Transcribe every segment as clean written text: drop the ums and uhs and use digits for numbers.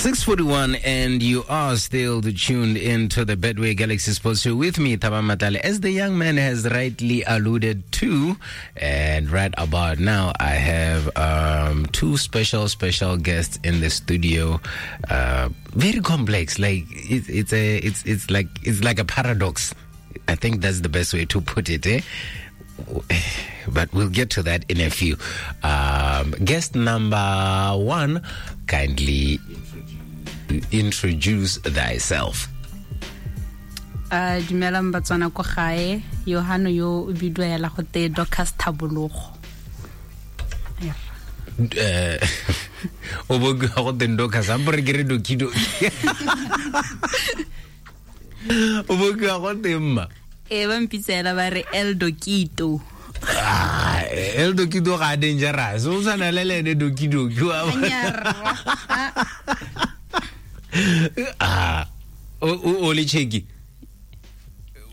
6:41, and you are still tuned into the Betway Galaxy Sports Show with me, Thabang Matlale, as the young man has rightly alluded to. And right about now, I have two special guests in the studio. Very complex, like it's like a paradox. I think that's the best way to put it, eh? But we'll get to that in a few. Guest number one, kindly introduce thyself. Dumelang Batswana ko gae, Yohano yo o bidiwa hela go te Dorcas Thabologo. O bo go te Dorcas, a mpore ke re Doki-Doki. O bo go te mma. E ba mpitsela ba re El Dokito. Ah, El Dokito ga dangerous. O tshwana le ene Doki-Doki wa. Ah, o le cheki.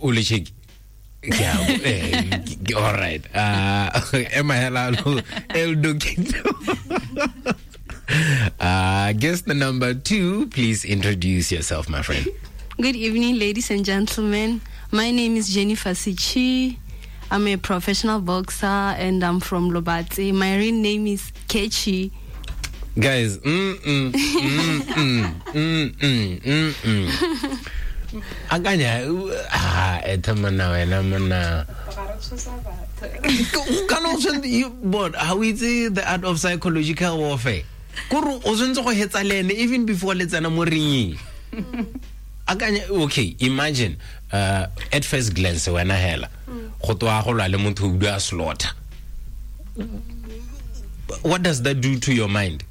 O le cheki. Yeah, all right. Ema hela El Dokito. Guest number two, please introduce yourself, my friend. Good evening, ladies and gentlemen. My name is Jennifer Sichi. I'm a professional boxer and I'm from Lobatse. My real name is Kechi. Guys, Akanya, etamana wena mona. But how is it the art of psychological warfare? Kuru o tshwanetse go hetsa le ene even before le tsena mo ringeng. Akanya, okay, imagine at first glance wena hela go twa go lwa le motho o bua slaughter. What does that do to your mind?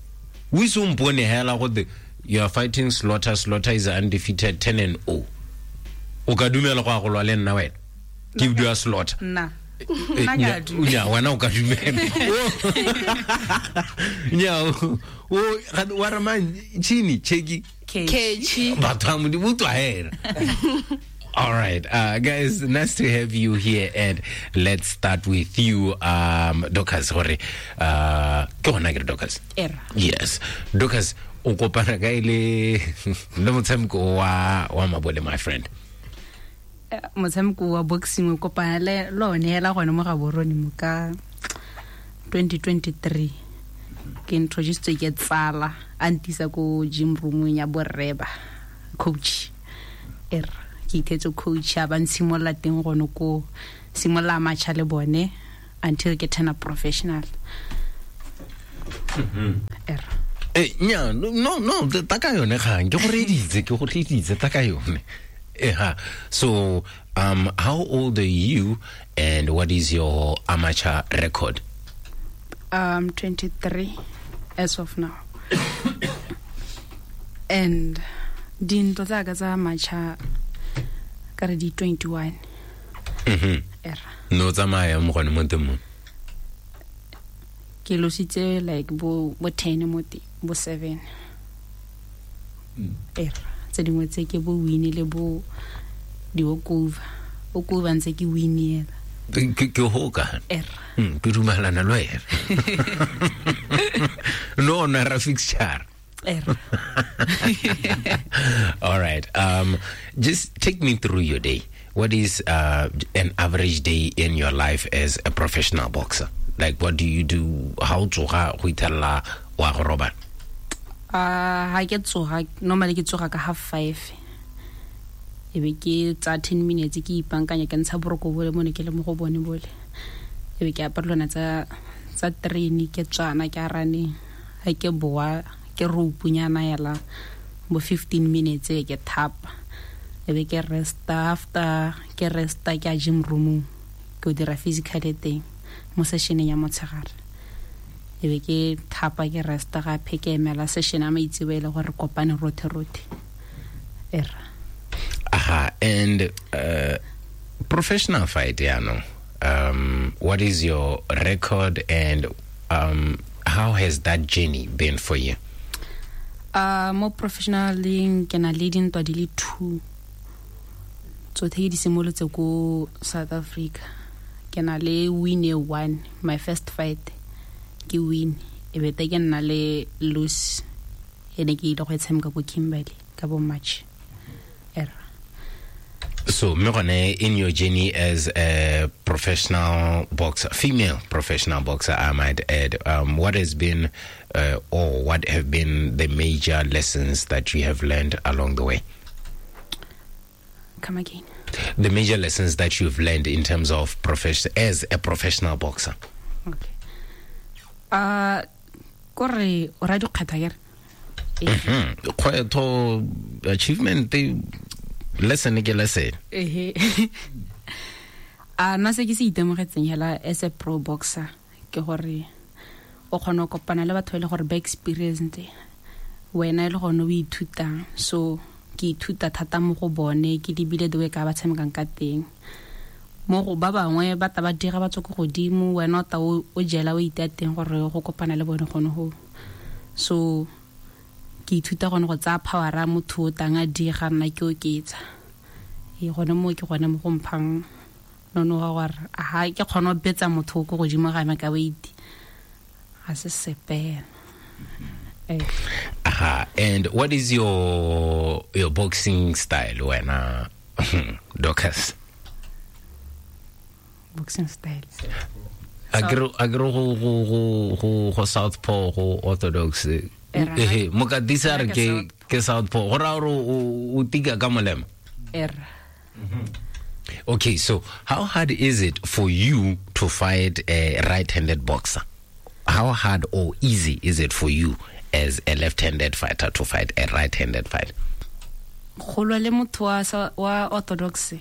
We so mpone hela go the you are fighting slaughter. Slaughter is undefeated 10-0. O ka dumela go go lwa le nna wena? Ke bua slaughter. Nna. Nya wena o ka dumela. Nya o wa re mang chini cheki Kechi. Batho ba Modimo utlwa hela. All right, guys, nice to have you here, and let's start with you, Dorcas. Gore, ke gona ke re Dorcas? Era. Yes, Dorcas, o kopana kae le motshameko wa mabole, my friend? Motshameko wa boxing o kopana le lone hela gone mo Gaborone mo ka 2023. Ke introduced ke tsala a ntisa ko gym room ya borreba coach. Era. Ke ithetse coach a ba ntshimolla teng gone ko simolla matcha le bone until ke turn up professional. Era. Nya, no, taka yone gang. Ke go reditse taka yone. So, how old are you and what is your amateur record? 23 as of now. And dintlo tsa ka tsa amateur ka re di 21. Era. No tsamaya mo gone mo teng mo. Ke lositse like bo 10 mo teng, bo 7. Era. Tse dingwe tse ke bo win le bo di walkover. Walkover ntse ke win ela. Ke hoka. Era. Ke dumelana le wena. No na ra fixture. Era. All right. Just take me through your day. What is an average day in your life as a professional boxer? Like, what do you do? How tsoga go ithella wa go robala? Ha ke tsoga, normally ke tsoga ka 5:30. E be ke tsa 10 minutes ke ipankanya ke ntsha boroko bole mo ne ke le mo go bone bole. E be ke apara lona tsa train ke tswana ke arane. Ha ke boa ke roupunyana yela bo 15 minutes e ke thapa. E be ke resta, after ke resta ke a gym room ke dira physical teng mo sessioneng ya motshegare. E be ke thapa ke resta gape ke emela session ya maitseboa e le gore kopane rothe rothe. Era. Aha, and professional fight, yeah, what is your record and how has that journey been for you? Mo professionaling ke na le dintwa di le 2. Tsothe di simolotse ko South Africa. Ke na le win 1, my first fight ke win. E bete ke nna le lose E ne ke ile go e tshameka ko Kimberley ka bo March. Era. So, mme gone, in your journey as a professional boxer, female professional boxer, I might add, what has been or what have been the major lessons that you have learned along the way? Come again. The major lessons that you've learned in terms of as a professional boxer. Okay. Kore o ra dikgwetho akere? Kgwetho, achievement, lesson ke lesson. Ehe. A nna se ke se itemogetseng hela as a pro boxer ke gore o kgona go kopana le batho ba e le gore ba experienced, wena e le gone o ithutang. So ke ithuta thata mo go bone, ke lebile the way ka ba tshamekang ka teng. Mo go ba bangwe ba ta ba dira ba tswa ko godimo, wena o ta o jela o itea teng gore go kopana le bone gone go. So ke ithuta gone go tsaya power a motho o tang a dira, nna ke oketsa. E gone mo ke gone mo go mphang nonoga gore aha ke kgone go betsa motho o ko godimo ga me ka weight. Ga se sepe. Aha, and what is your boxing style wena, Dorcas? Boxing style. Akere go southpaw, go orthodox. Ehe, mokatisi a re ke southpaw. Go raya gore o tika ka molema. Era. Okay, so how hard is it for you to fight a right-handed boxer? How hard or easy is it for you as a left-handed fighter to fight a right-handed fight? Go lwa le motho wa orthodox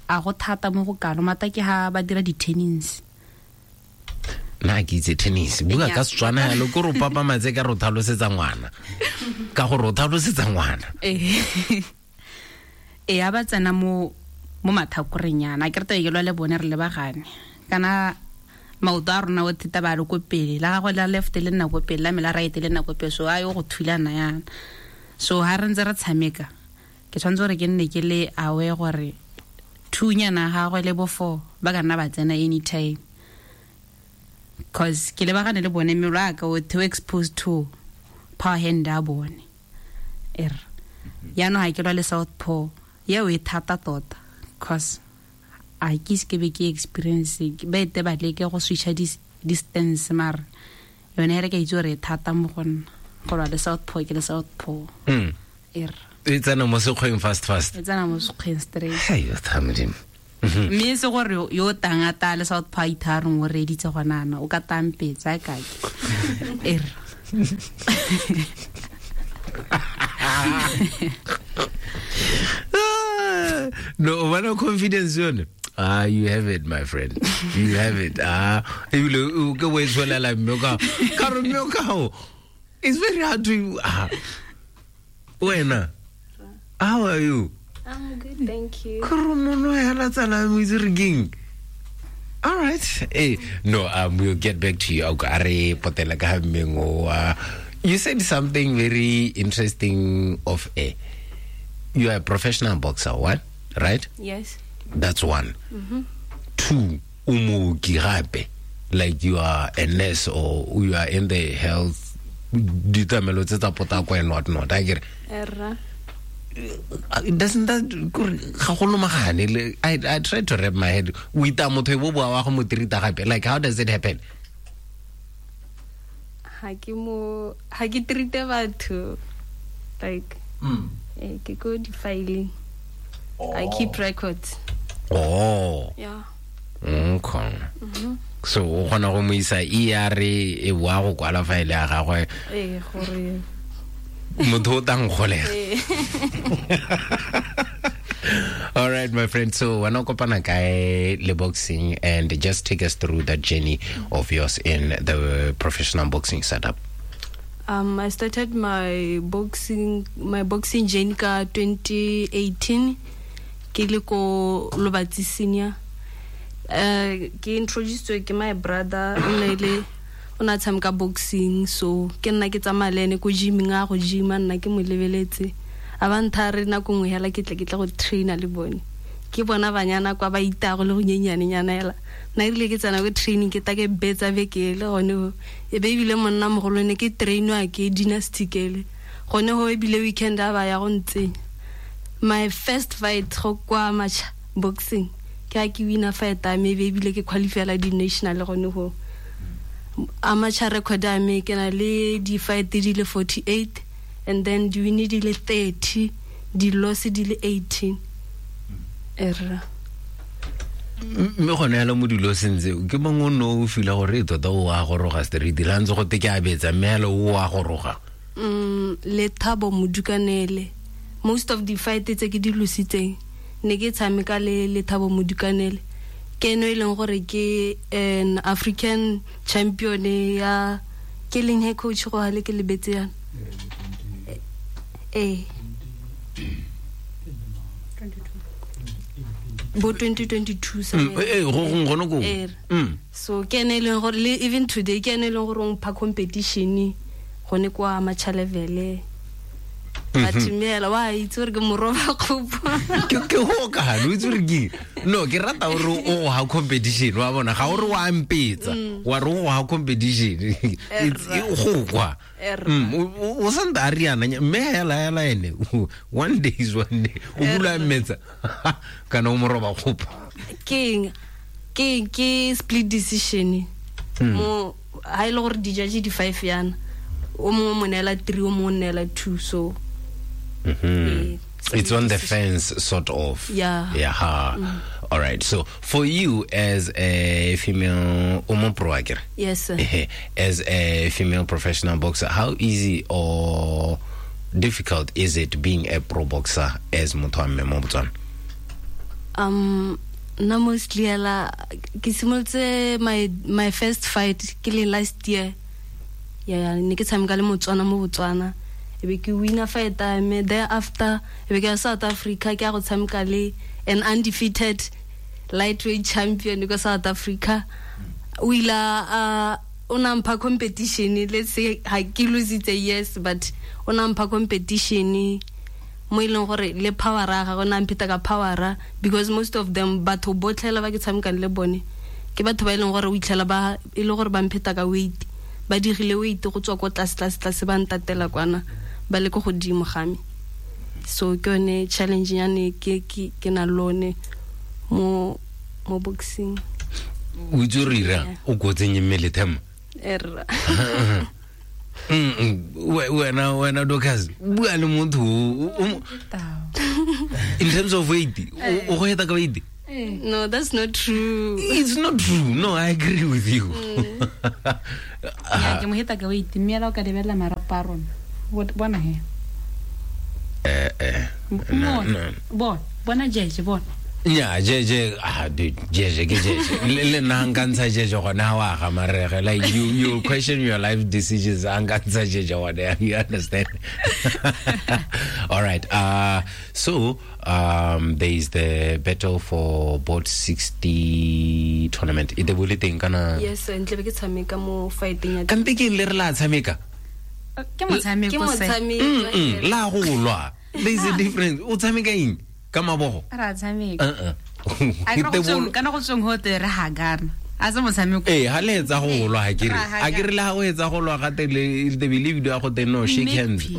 a go thata mo go kalo, mata ke ha ba dira di-tennis. Nna ke itse tennis. Bua ka Setswana yalo, ke re o papamatse ka re o tlhalosetsa ngwana. Ka gore o tlhalosetsa ngwana. E a ba tsena mo mathakoreng yana. Ke rata ke lwa le bone re lebagane. Kana maoto a rona o theta ba le ko pele, la gagwe la left le nna ko pele, la me la right le nna ko pele, so a yo go thulana yana. So ha re ntse re tshameka, ke tshwanetse gore ke nne ke le aware gore thunyana gagwe le bo 4 ba ka nna ba tsena anytime. Cause ke lebagane le bone mmele wa ka o too exposed to power hand a bone. Yaanong ha ke lwa le southpaw, eo e thata tota, cause a ke ise ke be ke experience ba ete ba leke go switcha distance, mara yone re ka itse gore e thata mo go nna go lwa le southpaw, ke le southpaw. E tsena mo sekgweng fast fast. E tsena mo sekgweng straight. Hai, o tha Modimo. Mme se gore yo tang a ta le southpaw itharong o reditse gona ana, o ka tampetsa ka ke. No, o confidence yone. Ah, you have it, my friend. You have it. Ah, ebile o ke o e tshwelela mme ka re mme ka ho. It's very hard to wena. How are you? I'm good, thank you. All right. Hey, no, we'll get back to you. You said something very interesting of a. You are a professional boxer, what? Right? Yes. That's one. Mm-hmm. Two, umo gape. Like you are a nurse or you are in the health and whatnot. I get it. Doesn't that I try to wrap my head with like how does it happen? Ha ke treat batho like ke go di filing. I keep records. Oh. Yeah. Okay. Mm-hmm. So o kgona go mo isa ER e boa go kwala file ya gagwe. Eh gore motho o tang golega. All right, my friend. So wena kopana kae le boxing, and just take us through that journey of yours in the professional boxing setup. I started my boxing journey ka 2018 ke le ko Lobatse Senior. Ke introduced ke my brother o ne a tshameka boxing, so ke nna ke tsamaya le ene ko gyming, a go gyma nna ke mo lebeletse. A ba ntha re nako nngwe hela ke tle go trainer le bone. Ke bona banyana kwa ba itago le go nyenyanenyana hela. Nna erile ke tsena ko training ke ta ke betsa beke le gone ho. E be ebile monna mogolo ne ke trainwa ke Dynasty kele. Gone go ebile weekend a ba ya go ntsenya. My first fight go kwa amateur boxing, ke a ke wina fight a me, ebile ke qualifyela di-national gone go. Amateur record a me, ke na le di-fight di le 48, and then di win di le 30, di loss di le 18. Erra. Mme gone yalo mo dilo sentse ke mongwe o ne o fila gore e tota o a goroga straight la ntse go te ke a betsa, mme yalo o a goroga. Le Thabo Modukanele, most of the fight tse ke di lositseng ne ke tshameka le Thabo Modukanele, ke eno e leng gore ke an African champion ya ke leng he coach go hale ke lebetse yana. Bo 2022 sa. Go gongwe gone koo. So ke ene e leng gore le even today ke ene e leng gore o mpha competition gone kwa amateur level. But mme wa itse gore ke moroba kgopo. Ke go ka lo itse gore ke no ke rata gore o ha competition wa bona ga o re wa mpetsa wa re o ha competition it's go kwa o santa a riana mme hela ene one day is one day o bula mmetsa kana o moroba kgopo. Ke ke split decision mo ha ile gore di judge di 5 yana o mongwe mo neela 3 o mongwe neela 2, so it's on the fence sort of. Yeah. All right, so for you as a female pro, yes sir. As a female professional boxer, how easy or difficult is it being a pro boxer as motho wa mme mo Botswana? Nna mostly hela ke simolotse my first fight ke le last year. Yeah, ne ke tshameka le Motswana mo Botswana. E be ke winner fight me, thereafter e be ke ya South Africa ke ya go tshameka le an undefeated lightweight champion ko South Africa. O ile a o na mpha competition, let's say ha ke lositse, yes, but o na mpha competition mo e leng gore le power ga gona mpheta ka power, because most of them batho botlhela ba ke tshamekang le bone ke batho ba e leng gore o itlhela ba e le gore ba mpheta ka weight, ba digile weight go tswa ko tlase tlase tlase ba ntatela kwana ba le ko godimo ga me. So ke yone challenge yane ke na lone mo boxing. O itse re ira o ko tsenye mmele thema. Erra. Wena Dorcas bua le motho in terms of weight o go eta ka weight. No, that's not true. It's not true. No, I agree with you. Yeah, ke mo heta ka weight mme la o ka lebella marapo a rona. Bona he. No. Bona jeje bona. Yeah, jeje jeje ke jeje. Le nna nka ntsha jeje gona wa ga marege. Like you question your life decisions nka ntsha jeje gona, you understand? All right. So there is the battle for board 60 tournament. E de bole teng kana? Yes, ntle be ke tshameka mo fighting ya. Kante ke le re la tshameka. Ke motshameko se. La go lwa. There is a difference. O tshameka eng? Ka mabogo. Ra tshameka. A kana go tsweng ho te re hagana. A se motshameko. Ha le etsa go lwa ha ke re. A ke re le ha o etsa go lwa ga te le the believe do go te no shake hands.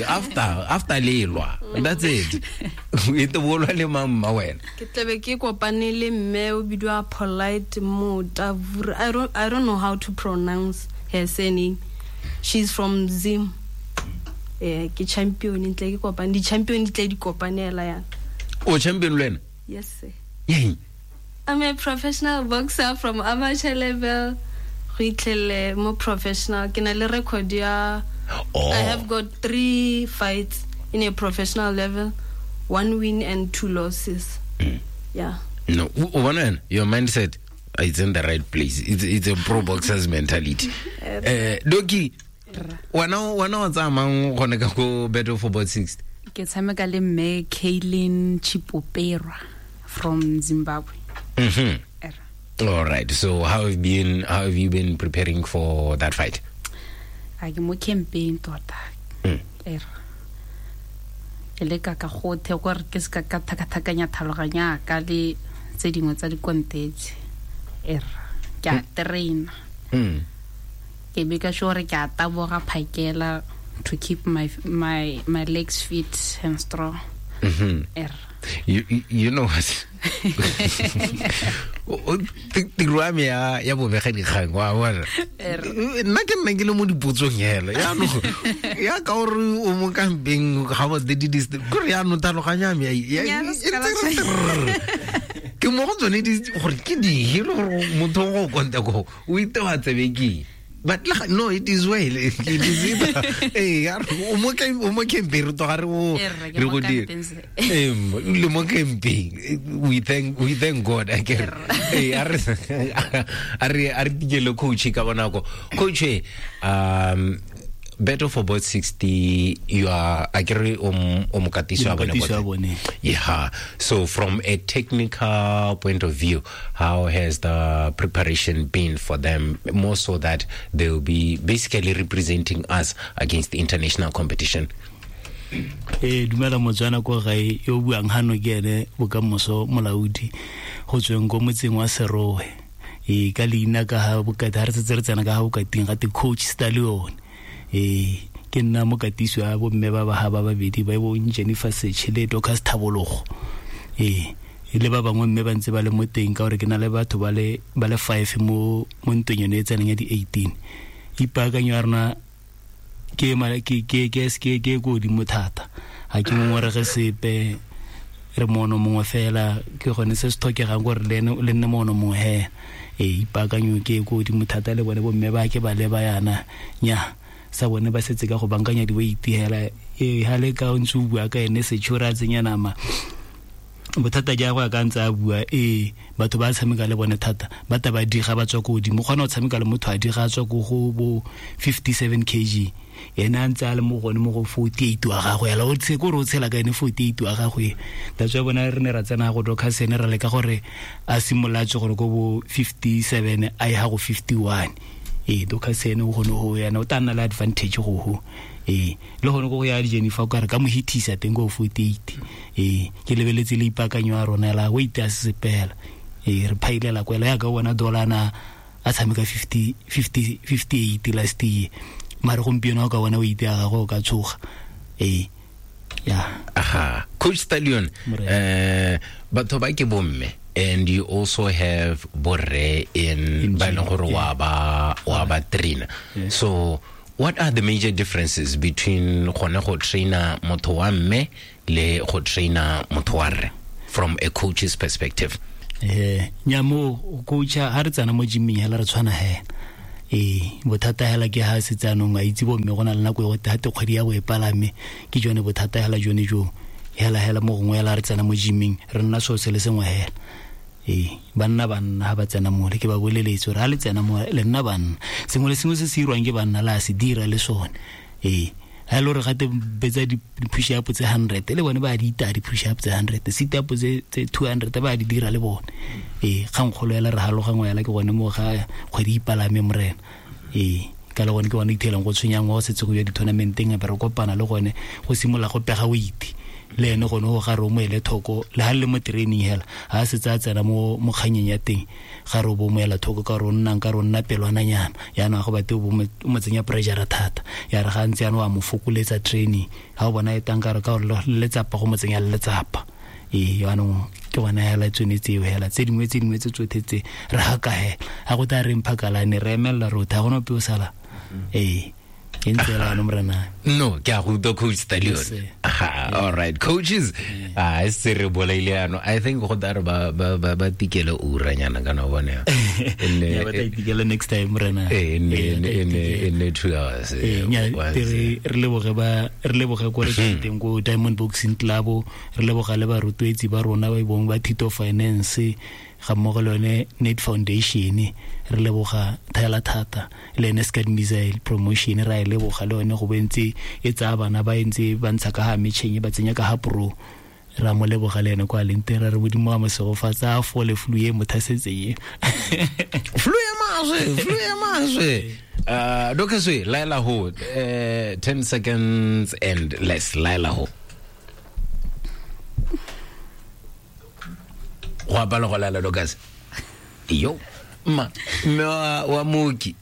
After le lwa. That's it. E te bolwa le mamma wena. Ke tlebe ke kopane le mme o bidiwa Polite Motavura. I don't know how to pronounce her surname. She's from Zim. Ke champion ntle ke kopane di champion di tle di kopanela yana. O champion le wena? Yes sir. Yeah. I'm a professional boxer from amateur level go itlhele mo professional. Ke na le record ya. I have got 3 fights in a professional level, 1 win and 2 losses. Yeah. No, one your mindset is in the right place. It's a pro boxer's mentality. Doki, wana wa tsamang gone ka go battle for board 60. Ke tshameka le mme Kaylin Chipopera from Zimbabwe. Mhm. All right. So how have you been preparing for that fight? A ke mo campaign tota. Ke leka ka gothe gore ke se ka thakathakanya thaloganya ka le tse dingwe tsa dikontetse. Ke a train. Ke be ka sure ke a taboga phakela To keep my legs fit and strong. You know what? Tiro ya me ya bobegadikgang, wa bona, nna ke nna ke le mo dipotsong hela yaanong ya ka gore o mo kampeng ga ba kore yaanong tlhaloganyo ya me ke mo go tsone gore ke dihe le gore motho go konta ko o itewa tsebe keng. But no, it is well. It is either. Hey, o mo campeng re tloga re go dira. Le mo campeng. We thank God. Akere. Hey, a re tikele coach ka bonako. Coach, Battle for Board 60, you are akere o mokatisi wa bone. Yeah. So from a technical point of view, how has the preparation been for them, more so that they will be basically representing us against the international competition? Dumela Motswana ko gae yo buang hano ke ene Bokamoso Molaodi go tsweng ko motseng wa Serowe. Ka leina ka ha bokati ha re setse re tsena ka ha bokating ga te Coach Stallion. Ke nna mokatisi wa bomme ba ba ba babedi ba bong Jennifer Seche le Dorcas Thabologo. Le ba bangwe mme ba ntse ba le mo teng ka gore ke na le batho ba le 5 mo ntweng yone e tseneng ya di 18. Ipaakanyo ya rona ke ko godimo thata. Ga ke ngongorege sepe, re mono mongwe fela ke gone se se tlhokegang gore le nne mono mongwe hela. Ipaakanyo ke ko godimo thata le bone bomme ba ke ba leba yana nya sa bone ba setse ka go bankanya di-weight hela. Ha le ka o ntse o bua ka ene Setšhore a tsenya nama bothata ja go ka ntse a bua batho ba tshameka le bone thata ba ta ba diga ba tswa ko godimo. Kgona go tshameka le motho a diga a tswa ko go bo 57 kg ene a ntse a le mo gone mo go 48 wa gagwe ela o kore o tshela ka ene 48 wa gagwe. That's why bona re ne ra tsena go Dorcas ene ra leka gore a simolola a tswe gore ko bo 57 a ye ga go 51. Dorcas ene o gone go yana o tla nna le advantage go ho. Le gone go ya Jennifer ka re ka mo hitisa teng go 48. Ke lebeletse le ipakanyo ya rona la weight a se sepela. Re phailela kwela ya ka bona dolana a tshameka 58 last year. Mare gompieno ka bona weight ya gagwe o ka tshoga. Yeah. Aha. Coach Stallion, batho ba ke bomme. And you also have borre in ba leng gore wa ba trainer. So what are the major differences between gone go trainer motho wa mme le go trainer motho wa rre from a coach's perspective? Nya mo coach ha re tsana mo gyming hela re tshwana hela. Bothata hela ke ha se tsanong a itse bo mme go na le nako e go thate kgwedi ya go e palame ke jone bothata hela jone jo. Hela hela mo gongwe hela re tsena mo gyming re nna so se le sengwe hela. Banna ha ba tsena mo le ke ba boleletse gore ha le tsena mo le nna banna sengwe le sengwe se se irwang ke banna la se dira le sone. Ha le re gate betsa di push up tse 100 le bone ba di ita di push up tse 100, sit up tse 200 ba di dira le bone. Kgangkgolo hela re halogangwe hela ke gone mo ga kgwedi ipalame morena. Ka le gone ke gone ithelang go tshwenyang go setse go ya di-tournamenteng be re kopana le gone go simolola go pega weight. Le ene gone go ga re o mo ele thoko le ha le mo training hela ha setse a tsena mo kganyeng ya teng ga re o bo mo ela thoko ka re o nnang ka re o nna pelwananyana yaanong ga go bate o mo tsenya pressure thata ya re ga ntse yana wa mo fokoletsa training ha o bona e tang ka re ka gore letsapa go mo tsenya letsapa. Yaanong ke gona hela tsone tseo hela tse dingwe tse tsotlhe tse re haka hela ga go tla re mphakalane re emelela rotha ga gona ope o sala. No, ke a go utlwa Coach Stallion. All right, coaches. Se re bolaile ano. I think go tla re ba tikele uranyana kana bona. Ba tla itikele next time rena. In 2 hours. Re leboge ko re teng ko Diamond Boxing Club, re leboga le barutwetsi ba rona ba bong ba Tito Finance ga mmogo le yone Net Foundation, re leboga thela thata le ene Scad Missile Promotion ra e leboga le yone go bentse e tsaya bana ba ntse ba ntsha ka ha metšheng ba tsenya ka ha pro ra mo leboga le ene kwa leng teng ra re modimo wa mosegofatsa a fole flu e mothasetse e flu e maswe Dokaswe laela ho 10 seconds and less laela ho go apala go laela Dorcas. Yo. Ma mme wa mooki,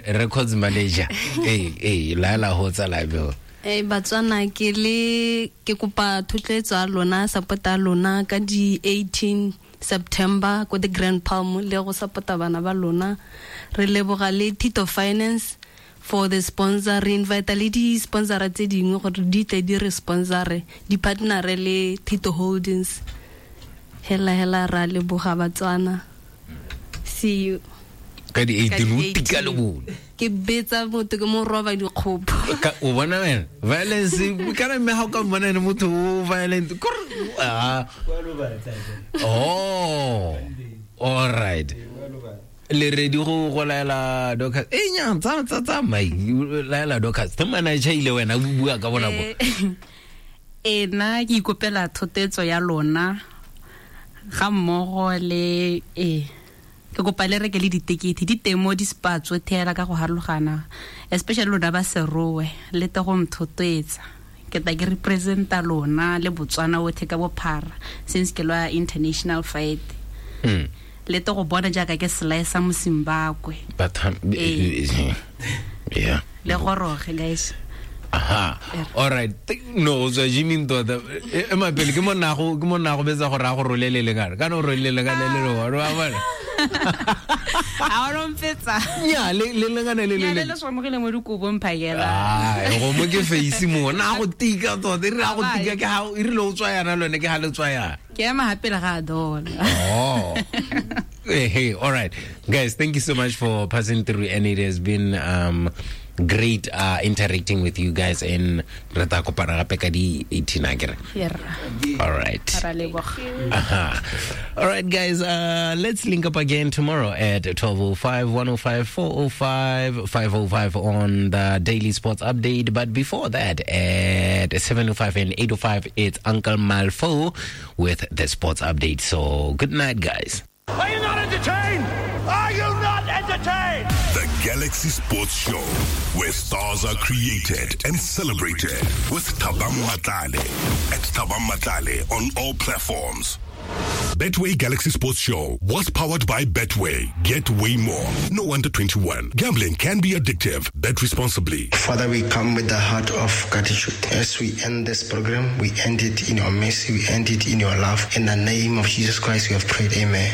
records manager, ee, laela go tsala beo. Batswana, ke le ke kopa thotloetso ya lona, support ya lona ka di 18 September ko the Grand Palm, le go support-a bana ba lona. Re leboga le Tito Finance for the sponsor. Re invite le di-sponsora tse dingwe gore di tle di re sponsore, di partnere le Tito Holdings. Hela hela, ra leboga Batswana, see you. Ka di Ka di 18 o tika le 18. bone. Ke betsa motho, ke mo roba dikgopo. O bona wena violence kana mme ga o ka mmona ene motho o violent. Ah, oh, all right, le ready go laela Dorcas e nya tsa tsa tsa mai laela Dorcas te manager ile wena o bua ka bona bo. Nna ke ikopela thotetso ya lona ga mmogo le ke kopa le reke le ditekete di teng mo di-spa tsotlhe hela ka go harologana, especially lona ba Serowe, le te go nthotloetsa. Ke tla ke representa lona le Botswana otlhe ka bophara since ke lwa international fight. Le te go bona jaaka ke slice mo Zimbabwe. But yeah. Le goroge, guys. Aha. All right. No, o tswa gyming tota. Ema pele ke mo nago, ke mo nago betsa gore a go rolele lengana. Kana o rolele lengana le le wa bona. A o mpetsa. Nya le le lengana le le. Nya le le swamogile mo dikobong phakela. Ah, go mo ke face mo. Na go tika tota, e re a go tika ke ha e rile o tswa yana lone ke ha le tswa yana. Ke ema hape le ga dola. Oh. Hey, all right. Guys, thank you so much for passing through, and it has been great interacting with you guys, and re tla kopana gape ka di 18 akere. All right. Ra leboga. Aha. All right, guys, let's link up again tomorrow at 12:05, 1:05, 4:05, 5:05 on the Daily Sports Update. But before that, at 7:05 and 8:05, it's Uncle Malfo with the Sports Update. So good night, guys. Are you not entertained? Are you not entertained? The Galaxy Sports Show, where stars are created and celebrated with Thabang Matlale. At Thabang Matlale on all platforms. Betway Galaxy Sports Show was powered by Betway. Get way more. No under 21. Gambling can be addictive. Bet responsibly. Father, we come with the heart of gratitude. As we end this program, we end it in your mercy, we end it in your love. In the name of Jesus Christ, we have prayed. Amen.